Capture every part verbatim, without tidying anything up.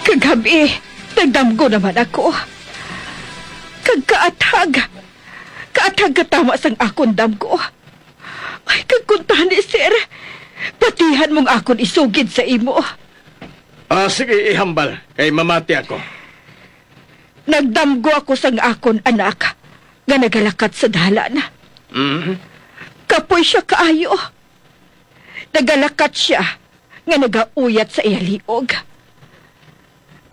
Kagab-i, nagdamgo naman ako. Kag kaathag, kaathag katama sang akon damgo. Ay, kag kuntani, sir, patihan mong akon isugid sa imo. Ah, sige, ihambal, kay mamati ako. Nagdamgo ako sang akon anak nga nagalakat sa dalan. Mhm. Kapoy siya kaayo. Nagalakat siya nga nagauyat sa iya liog.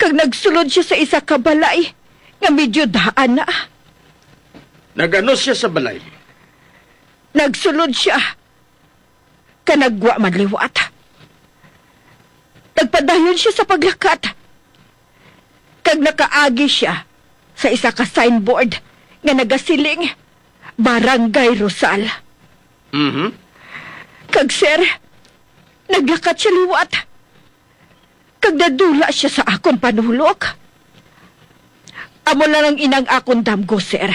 Kag nagsulod siya sa isa ka balay nga medyo daan na. Nagano siya sa balay? Nagsulod siya ka nagwa man liwat. Nagpadayon siya sa paglakat, kag nakaagi siya sa isa ka signboard nga nagasiling, "Barangay Rosal." Mhm. Kag, sir, naglakat siya liwat, kag nadula siya sa akon panulok. Amo lang ang inang akon damgo, sir.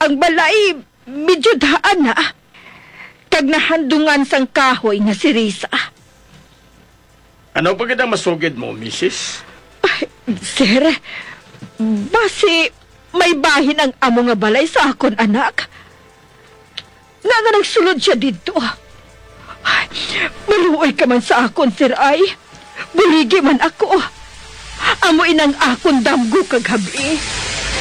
Ang balay medyo daan na, kag nahandungan sang kahoy nga sirisa. Ano pa gid ang masugid mo, misis? Ay, sir, basi may bahin ang amo nga balay sa akon anak. Nga nga nagsulod siya didto. Ay, maluoy ka man sa akon, sir, ay. Buligi man ako. Amo inang akon damgo kagab-i.